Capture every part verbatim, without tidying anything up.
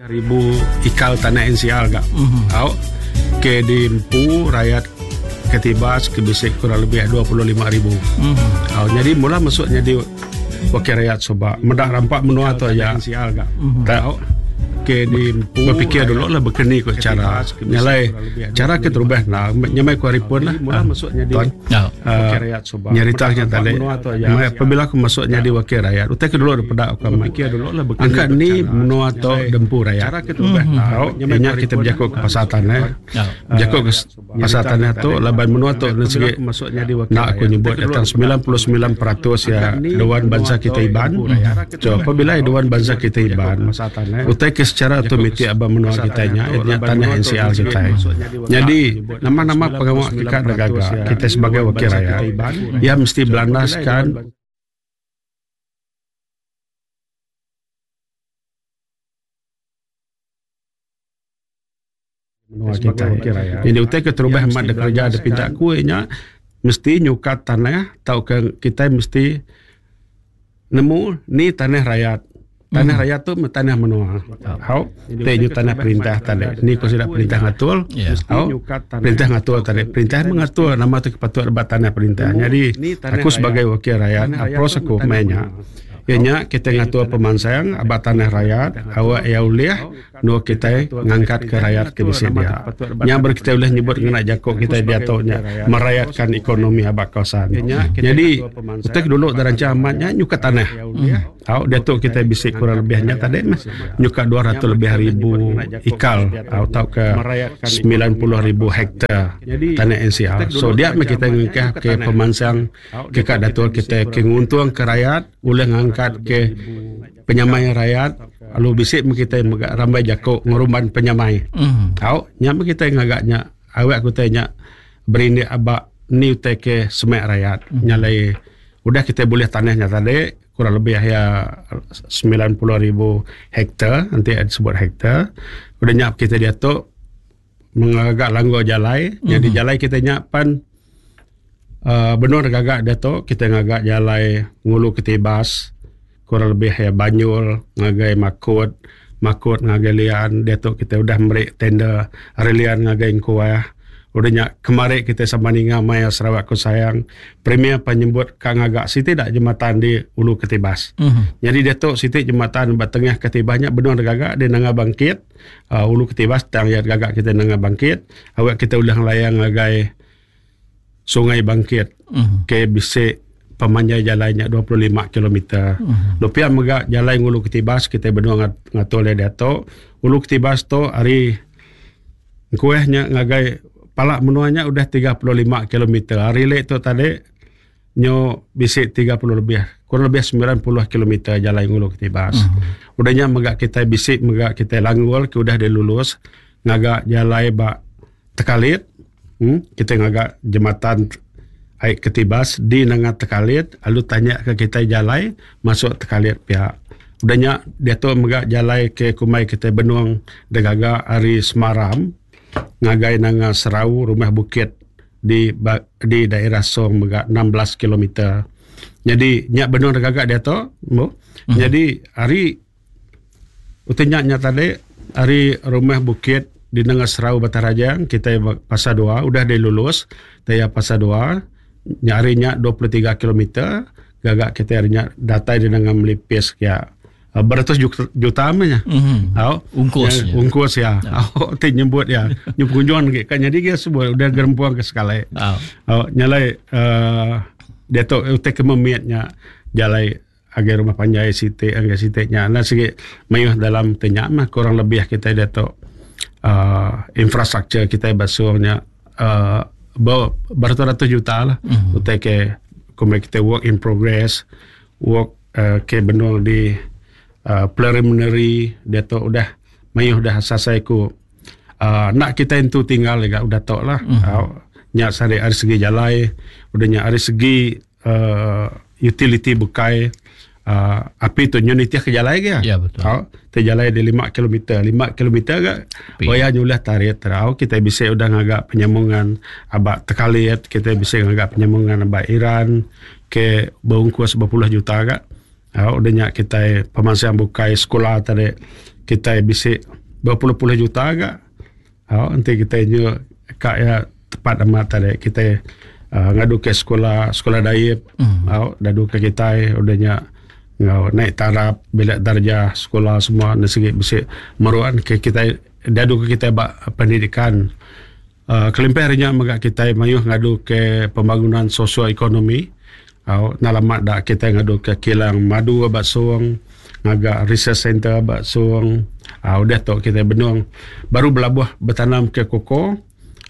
Ribu ikal tanah N C R gak. Mm-hmm. Au ke dimpu rakyat Ketibas ke bisik kurang lebih dua puluh lima ribu. Mm-hmm. Au jadi mula masuknya di wakil rakyat soba medak rampak menua tu aja N C R gak. Mm-hmm. Tahu ke di berfikir dulu lah berkeni ko cara nyalai cara ke terubah nah nyamai ku hari pun lah mula masuknya di wakil rakyat soba nyeritanya tadi apabila aku masuknya di wakil rakyat utai ke dulu daripada aku berfikir dulu lah angkat ni menua tu dempu rakyat cara ke terubah tahu nya kita berjakuk ke pasar tanah berjakuk ke pasar tanah tu laban menua tu segi masuknya di wakil nak aku nyebut datang sembilan puluh sembilan peratus ya dewan bangsa kita Iban. So apabila dewan bangsa kita Iban utai ke secara otomatik abang menua kita nya etnya tanah N C R kita. Jadi nama-nama pengawal kita negara kita sebagai wakil rakyat ya mesti belandaskan menua kita. Jadi utai ke terubah amat de kerja de pinta kuenya mesti nyukat tanah tau ke kita mesti nemu ni tanah rakyat. Tanah rakyat tu tanah menua. Hau, te tanah perintah tadi. Ni ko sudah perintah ngatul. Hau, perintah ngatul tadi. Perintah mengatur nama tu kepatuhan bat tanah perintah. Jadi aku sebagai wakil rakyat, approach aku mainnya. Ianya kita ngatur pemansang abat tanah rakyat, awak ya uliah nu kita ngangkat ke rakyat ke bisi dia. Nya ber kita boleh nyebut ngena jakok kita diatoknya merayatkan ekonomi abat kawasan. Jadi utek dulu derancang amatnya nyukat tanah. Au diatok kita bisi kurang lebihnya tadi mas nyukat dua ratus lebih ribu ikal atau ke sembilan puluh ribu hektar tanah N C R. So dia meh kita ngangkat ke pemansang ke kat datul kita ke nguntung ke rakyat boleh ngangkat ke penyamai rakyat lalu bisik kita megak rambai jakok ngorban penyamai. Mm. Tau nyam kita ngagaknya awak ku tanya berindik abak ni utai ke semak rakyat. Mm. Nyalai udah kita boleh tanahnya tadi kurang lebih ya sembilan puluh ribu hektar nanti ada sebut hektar. Udah nyap kita dia tu mengagak langgo jalai. Mm. Jadi jalai kita nyapan Uh, benar gagak dia tu kita ngagak jalai ngulu Ketibas kurang lebih ya Banyul ngagai Makut Makut ngagai Lian dia tu kita udah merik tender Lian ngagai Kuah udah nyak kemarin kita sama ninga Maya Sarawak ku sayang premier penyebut kang ngagak siti dak jembatan di Ulu Ketibas. Mm-hmm. Jadi dia tu siti jembatan ba tengah Ketibasnya benar gagak di Nanga Bangkit uh, Ulu Ketibas tang ya gagak kita Nanga Bangkit awak kita udah layang ngagai Sungai Bangkit mm-hmm. ke bisik pemanjai jalannya dua puluh lima kilometer. Mm-hmm. Lupian megak jalan Ulu Ketibas kita berdua ngatur le dato. Ulu Ketibas tu hari kuehnya ngagai palak menuanya udah tiga puluh lima kilometer. Hari lek tu tadi nyo bisik tiga puluh lebih, kurang lebih sembilan puluh kilometer jalan Ulu Ketibas. Mm-hmm. Udahnya megak kita bisik megak kita langgul ke udah dilulus ngagak jalan bak Tekalit. Hmm, kita ngagak jembatan air Ketibas di Nanga Tekalit, lalu tanya ke kita jalai masuk Tekalit pihak. Udahnya dia tu megak jalai ke kumai kita benuang degaga hari Semaram ngagai Nanga Serau rumah bukit di di daerah Song megak enam belas kilometer. Jadi nyak benuang degagak dia tu, hmm. Jadi hari utenya nya tadi hari rumah bukit di Nanga Serau Batarajang kita pasar dua udah dilulus taya pasar dua nyarinya dua puluh tiga kilometer gagak kita harinya datai di Nanga Melipis ya beratus juta, juta amanya. Mm-hmm. Au ungkus ya, ungkus ya. Au ti nyebut ya nyupunjuan ke kan jadi dia sebut udah gerempuang ke sekali. Au nyalai uh, dia tu utai kememiatnya jalai agar rumah panjai siti agar siti nya nah segi mayuh dalam tenya mah kurang lebih kita dia tu Uh, infrastruktur kita basuhnya uh, beratus-ratus juta lah. Mm-hmm. Utai ke kumai kita work in progress, work uh, ke benung di uh, preliminary dia tu udah mayuh dah selesai ku uh, nak kita itu tinggal juga udah tok lah. Mm-hmm. Uh, nyak sari ari segi jalai, udah nyak ari segi uh, utility bukai. Uh, api tu nyunitiah ke jalai ke ya betul. Oh, te jalai di lima kilometer, lima kilometer ke waya nyulah tarik terau kita bisa udah ngagak penyambungan abak Tekalit, kita bisa ngagak penyambungan abak Iran ke berungkus berpuluh juta ke. Oh, udah nyak kita pemansang bukai sekolah tadi Kita bisa berpuluh-puluh juta agak. Oh, nanti kita nyu kak ya tepat amat tadi kita uh, ngadu ke sekolah sekolah daib. Mm. Oh, dadu ke kita udahnya ngau naik taraf bilik darjah sekolah semua nasi bisi meruan ke kita dadu ke kita bak pendidikan. Uh, kelimpah harinya megak kita mayuh ngadu ke pembangunan sosioekonomi. Oh, nalamat dak kita ngadu ke kilang madu bak Suang, ngagak research center bak Suang. Ah uh, udah tok kita benung baru belabuh bertanam ke koko.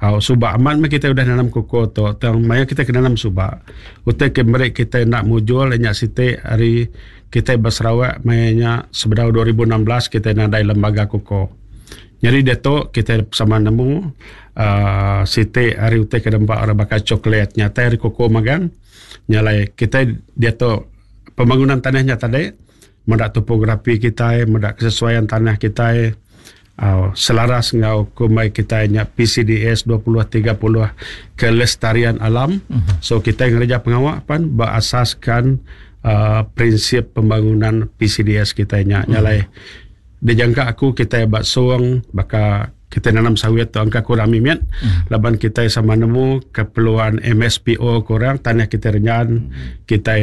Ah uh, subak amat meh kita udah nanam koko tok tang maya kita kena nanam subak. Utai ke merek kita nak mujul nyak siti hari kita berserawak mayanya sebenar dua ribu enam belas kita nadai lembaga koko. Jadi dia tok kita sama nemu uh, siti hari utai ke dempak orang bakal coklat nyata hari koko magang. Nyalai kita dia tu pembangunan tanahnya tadi mendak topografi kita, mendak kesesuaian tanah kita, uh, selaras ngau kumai kita nya P C D S dua puluh tiga puluh kelestarian alam. Mm-hmm. So kita ngerja pengawak pan berasaskan uh, prinsip pembangunan P C D S kita nya. Mm-hmm. Nyalai dijangka aku kita bak suang baka kita nanam sawit tu angka kurang mimiat. Mm. Laban kita sama nemu keperluan M S P O kurang tanah kita renyan. Mm. Kita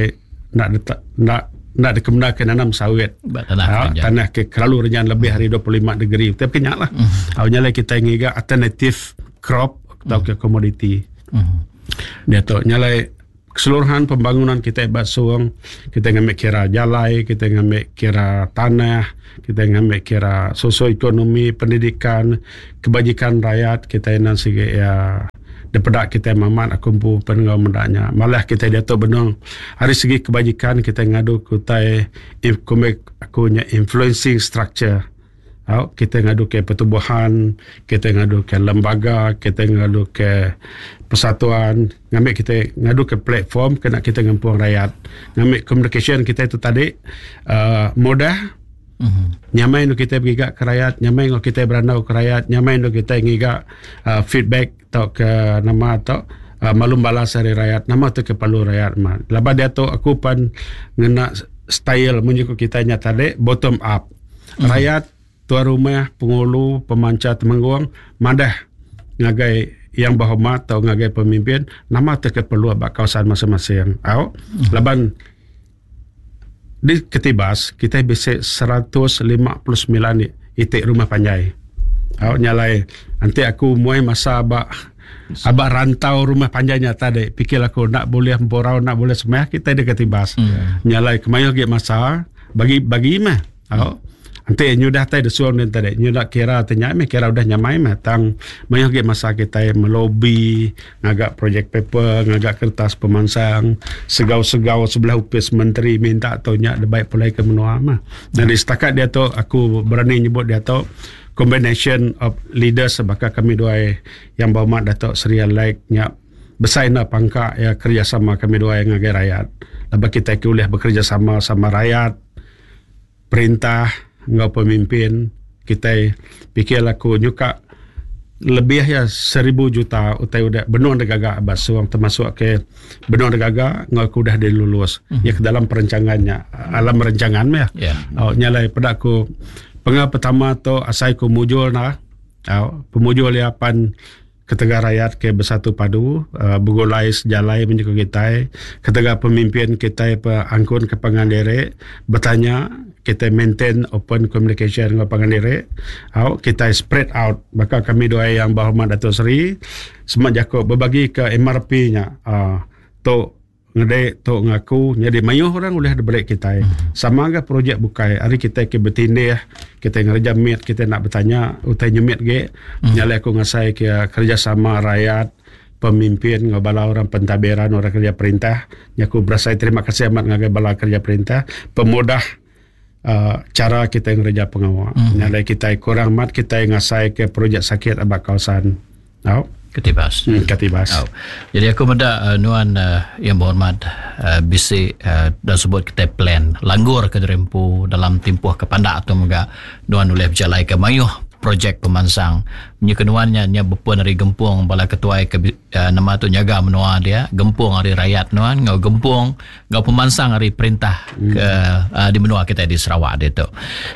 nak detak, nak nak dikemena ke nanam sawit. Tanah, ha, tanah ke terlalu renyan lebih hari dua puluh lima degree. Tapi kenyak lah. Mm. Awalnya lah kita ngiga alternatif crop atau mm. ke komoditi. Mm. Dia tu nyalai keseluruhan pembangunan kita hebat suang, kita ngambil kira jalai, kita ngambil kira tanah, kita ngambil kira sosioekonomi, pendidikan, kebajikan rakyat, kita nan segi ya daripada kita mamat aku pun penengah mendaknya. Malah kita dia tu benung hari segi kebajikan kita ngadu kutai aku nya influencing structure. Oh, kita ngadu ke pertubuhan, kita ngadu ke lembaga, kita ngadu ke persatuan, ngambil kita ngadu ke platform kena kita ngempung rakyat. Ngambil communication kita itu tadi uh, mudah. Mm-hmm. Nyamai nu kita bergigak ke rakyat, nyamai nu kita berandau ke rakyat, nyamai nu kita ngigak uh, feedback atau ke nama atau uh, malum balas dari rakyat, nama tu ke perlu rakyat mah. Lepas dia tu aku pan ngena style munjuk kita nya tadi bottom up. Mm-hmm. Rakyat tuan rumah, pengulu, pemanca temenggung, madah ngagai yang berhormat atau ngagai pemimpin, nama tu ke perlu bak kawasan masing-masing. Au, mm-hmm. Laban di Ketibas kita bisa seratus lima puluh sembilan itik rumah panjai. Au nyalai nanti aku muai masa abak abak rantau rumah panjainya tadi pikir aku nak boleh emporau nak boleh semah kita di Ketibas. Mm. Nyalai kemayo ge masa bagi bagi mah. Au nanti nyudah tai desuang dan tadi nyudah kira tanya meh kira udah nyamai meh tang mayuh ge masa kita melobi ngagak project paper ngagak kertas pemansang segau-segau sebelah upis menteri minta atau nyak de baik pulai ke menua mah. Dan setakat dia tu aku berani nyebut dia tu combination of leaders sebab kami dua yang berhormat Datuk Seri Alek nyak besar nak pangkak ya kerjasama kami dua yang ngagai rakyat. Lepas kita boleh bekerjasama sama rakyat perintah ngau pemimpin kita pikir aku nyuka lebih ya seribu juta utai udah benua degaga basuang termasuk ke benua degaga ngau aku dah dilulus mm-hmm. ya ke dalam perencangannya alam perencangan ya yeah. Oh, nyalai pada aku penga pertama tu asai ku mujul nah oh, pemujul ya pan ketega rakyat ke bersatu padu uh, bergulai sejalai menyuka kita ketega pemimpin kita pe angkun ke pangan diri bertanya kita maintain open communication dengan pangan diri au kita spread out bakal kami dua yang berhormat Datuk Seri semak Jakob berbagi ke M R P-nya uh, tok ngedek tok ngaku jadi mayuh orang boleh diberi kita hmm. Sama ke projek bukai hari kita ke bertindih kita ngerja mit kita nak bertanya utai nyemit ge hmm. Nyalai aku ngasai ke kerjasama rakyat pemimpin ngabala orang pentadbiran orang kerja perintah nyaku berasai terima kasih amat ngagai bala kerja perintah pemudah uh, cara kita ngerja pengawal hmm. Nyalai kita kurang mat kita ngasai ke projek sakit abak kawasan tau Ketibas. Hmm, Ketibas. Oh. Jadi aku meda uh, nuan uh, yang berhormat uh, bisi uh, dan sebut kita plan langgur ke derempu dalam tempoh kepandak atau mega nuan oleh berjalai ke mayuh projek pemansang. Nya kenuan nya nya bepun ari gempung bala ketuai ke uh, nama tu nyaga menua dia, gempung ari rakyat nuan ngau gempung ngau pemansang ari perintah hmm. ke uh, di menua kita di Sarawak dia tu.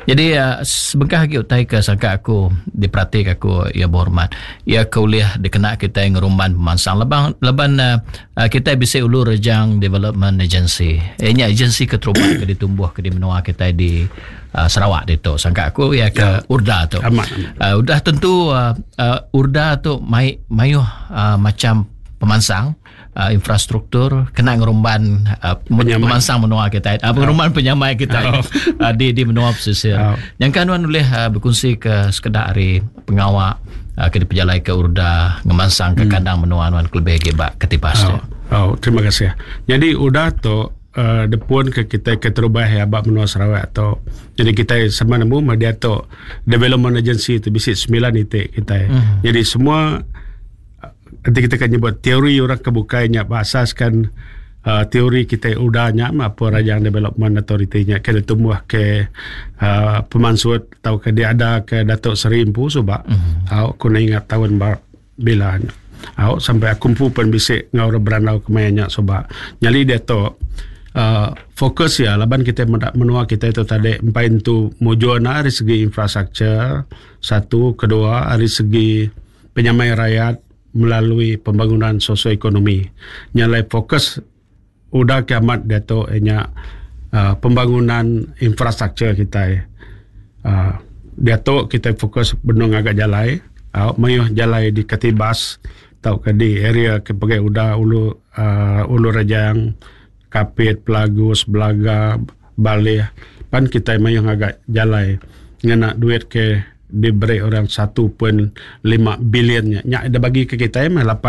Jadi uh, sebengkah lagi utai ke sangka aku diperhati aku ya berhormat. Ya ke ulih dikena kita ngerumban pemansang leban leban uh, kita bisa Ulu Rejang Development Agency. Eh, nya agensi keterubah ke ditumbuh ke di menua kita di uh, Sarawak itu. Sangka aku ya ke ya. URDA tu. Amat, amat. Uh, udah tentu uh, uh, URDA tu mai mayuh uh, macam pemansang uh, infrastruktur kena ngerumban uh, pemansang menua kita uh, ngerumban oh. penyamai kita oh. uh, di di menua pesisir. Oh. Yang kan nuan boleh uh, berkongsi ke sekedar hari pengawak uh, ke dipejalai ke URDA ngemansang ke hmm. kandang menua nuan lebih gebak ketibas. Oh. oh, terima kasih. Jadi URDA tu uh, depun ke kita ke terubah ya bab menua Sarawak tu. Jadi kita sama nemu dia tu development agency tu bisi sembilan titik kita. Mm. Jadi semua nanti kita akan nyebut teori orang kebukainya berasaskan uh, teori kita udahnya apa Rajang Development Authority nya ke tumbuh ke uh, pemansut atau ke dia ada ke Datuk Seri Empu subak. Mm. Aku nak ingat tahun bar, bila nya. Au sampai aku pun bisik ngau berandau kemayanya subak. Nyali dia tu Uh, fokus ya laban kita menua kita itu tadi empat itu mujuan dari segi infrastruktur satu, kedua dari segi penyamai rakyat melalui pembangunan sosioekonomi. Nyalai fokus udah kiamat dia tu nya uh, pembangunan infrastruktur kita. Uh, dia tu kita fokus benung agak jalai, uh, mayuh jalai di Katibas atau ke di area ke pakai udah ulu uh, ulu Rejang, Kapit, Pelagus, Belaga, Balih. Pan kita mayuh agak jalai ngena duit ke diberi orang satu point lima bilionnya. Nyak ada bagi ke kita mah lapan